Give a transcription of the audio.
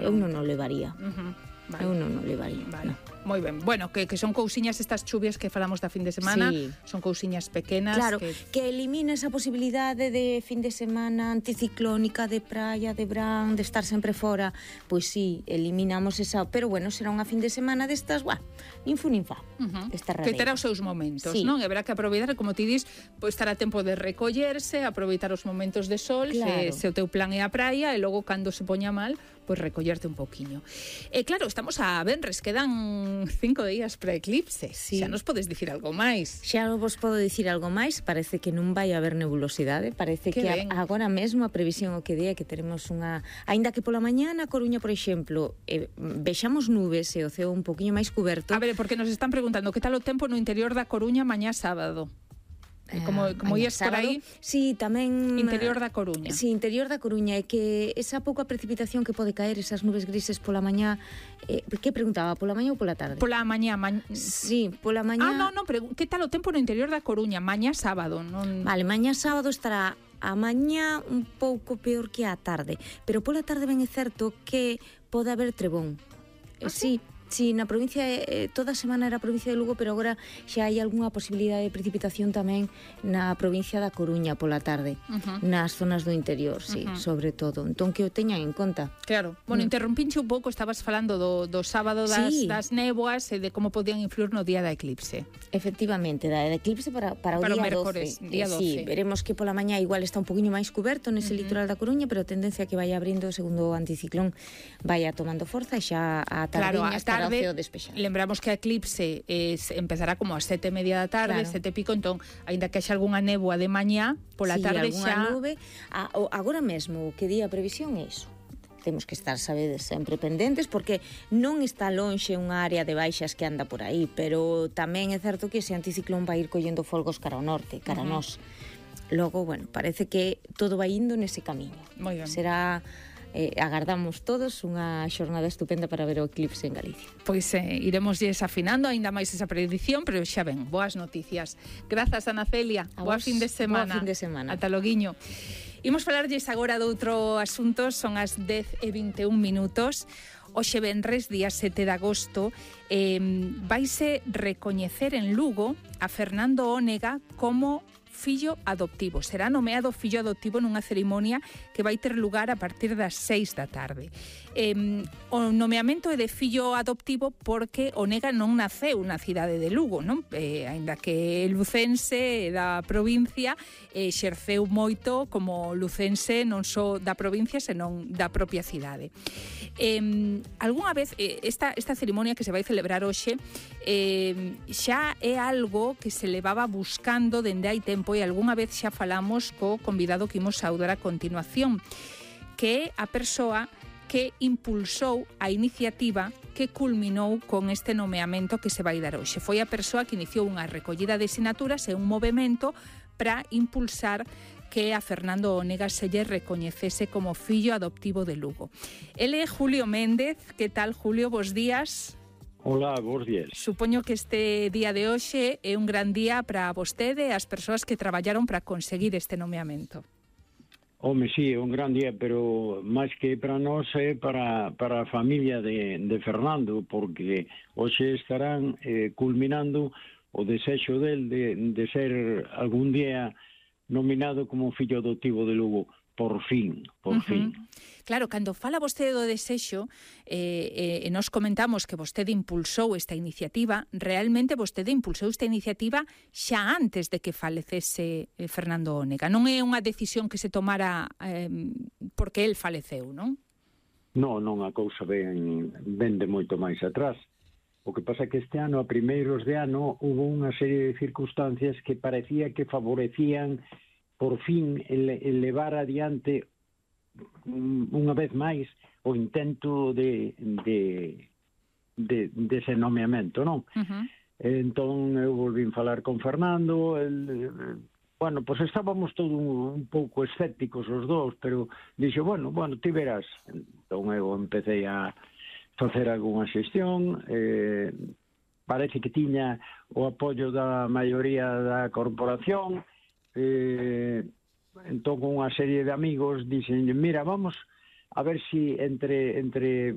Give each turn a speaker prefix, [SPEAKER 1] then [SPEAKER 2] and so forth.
[SPEAKER 1] Eu non o levaría.
[SPEAKER 2] Vale.
[SPEAKER 1] Eu non o levaría.
[SPEAKER 2] Vale. Moi ben. Bueno, que son cousiñas estas chuvias que falamos da fin de semana,
[SPEAKER 1] sí.
[SPEAKER 2] Son cousiñas pequenas.
[SPEAKER 1] Claro, que elimina esa posibilidade de fin de semana anticiclónica, de praia, de verán, de estar sempre fora. Pois sí, eliminamos esa, pero bueno, será unha fin de semana destas, nin fu nin fa.
[SPEAKER 2] Que terá os seus momentos,
[SPEAKER 1] sí.
[SPEAKER 2] Non? E verá que aproveitar, como ti dis, pois estará tempo de recollerse, aproveitar os momentos de sol,
[SPEAKER 1] claro.
[SPEAKER 2] se o teu plan é a praia, e logo cando se poña mal, pois recollerte un pouquiño. E claro, estamos a venres, quedan 5 días para eclipse.
[SPEAKER 1] Sí.
[SPEAKER 2] Xa nos podes dicir algo máis.
[SPEAKER 1] Xa vos podo dicir algo máis, parece que non vai haber nebulosidade, parece que agora mesmo a previsión o que di é que teremos unha, aínda que pola mañá na Coruña, por exemplo, vexamos nubes e o ceo un poquinho máis cuberto.
[SPEAKER 2] A ver, porque nos están preguntando que tal o tempo no interior da Coruña mañá sábado. Como ias por aí,
[SPEAKER 1] sí, tamén
[SPEAKER 2] interior da Coruña.
[SPEAKER 1] Sí, interior da Coruña, é que esa pouca precipitación que pode caer, esas nubes grises pola mañá, que preguntaba, pola mañá ou pola tarde?
[SPEAKER 2] Pola mañá,
[SPEAKER 1] sí, pola mañá.
[SPEAKER 2] Que tal o tempo no interior da Coruña, mañá sábado, non?
[SPEAKER 1] Vale, mañá sábado estará a mañá un pouco peor que a tarde, pero pola tarde ben é certo que pode haber trebón. Sí, na provincia, toda a semana era a provincia de Lugo, pero agora xa hai algunha posibilidade de precipitación tamén na provincia da Coruña pola tarde, nas zonas do interior, sí, sobre todo. Entón que o teñan en conta.
[SPEAKER 2] Claro. Bueno, interrumpinche un pouco, estabas falando do sábado das néboas e de como podían influir no día da eclipse.
[SPEAKER 1] Efectivamente, da eclipse para o día
[SPEAKER 2] mércores,
[SPEAKER 1] 12.
[SPEAKER 2] Día 12.
[SPEAKER 1] Sí, veremos que pola mañá igual está un poquinho máis cuberto nese litoral da Coruña, pero a tendencia que vai abrindo segundo o anticiclón vai tomando forza e xa a tardiña estará o ceo despexado.
[SPEAKER 2] Lembramos que a eclipse empezará como a 7:30 da tarde, 7 e pico, entón, aínda que haxa algunha néboa de mañá, pola tarde xa...
[SPEAKER 1] nube. Agora mesmo, o que di a previsión é iso. Temos que estar, sabedes, sempre pendentes, porque non está lonxe unha área de baixas que anda por aí, pero tamén é certo que ese anticiclón vai ir collendo folgos cara ao norte, cara a nós. Logo, bueno, parece que todo vai indo nese camiño.
[SPEAKER 2] Moi ben.
[SPEAKER 1] Será... agardamos todos unha xornada estupenda para ver o eclipse en Galicia.
[SPEAKER 2] Pois iremos afinando aínda máis esa predición, pero xa ven, boas noticias. Grazas, Ana Celia. Boa fin de semana.
[SPEAKER 1] Boa fin de semana.
[SPEAKER 2] Ata loguiño. Imos falarlles agora de outro asunto, son as 10:21 minutos. Hoxe venres, día 7 de agosto, vaise recoñecer en Lugo a Fernando Ónega como fillo adoptivo. Será nomeado fillo adoptivo nunha cerimonia que vai ter lugar a partir das 6 da tarde. O nomeamento é de fillo adoptivo porque Ónega non naceu na cidade de Lugo, non? Aínda que é lucense da provincia, exerceu moito como lucense non só da provincia, senón da propia cidade. Algúnha vez, esta cerimonia que se vai celebrar hoxe xa é algo que se levaba buscando dende hai tempo, e algunha vez xa falamos co convidado que imos saudar a continuación, que é a persoa que impulsou a iniciativa que culminou con este nomeamento que se vai dar hoxe. Foi a persoa que iniciou unha recollida de sinaturas e un movemento para impulsar que a Fernando Ónega se lle recoñecese como fillo adoptivo de Lugo. Ele é Julio Méndez. Que tal, Julio? Bos días.
[SPEAKER 3] Hola, bos días.
[SPEAKER 2] Supoño que este día de hoxe é un gran día para vostede e as persoas que traballaron para conseguir este nomeamento.
[SPEAKER 3] Home, sí, é un gran día, pero máis que para nós é para a familia de Fernando, porque hoxe estarán culminando o desexo del de ser algún día nominado como fillo adoptivo de Lugo. Por fin.
[SPEAKER 2] Claro, cando fala vostede do desexo, e nos comentamos que vostede impulsou esta iniciativa, realmente vostede impulsou esta iniciativa xa antes de que falecese Fernando Ónega. Non é unha decisión que se tomara porque el faleceu, non?
[SPEAKER 3] Non, a cousa ven de moito máis atrás. O que pasa é que este ano, a primeiros de ano, hubo unha serie de circunstancias que parecía que favorecían por fin levar adiante unha vez máis o intento de ese nomeamento, non? Entón eu volvín falar con Fernando, bueno, pois estábamos todos un pouco escépticos os dous, pero dixo, bueno, ti verás. Entón eu empecé a facer algunha xestión, parece que tiña o apoio da maioría da corporación. Entón con unha serie de amigos dixen, mira, vamos a ver si entre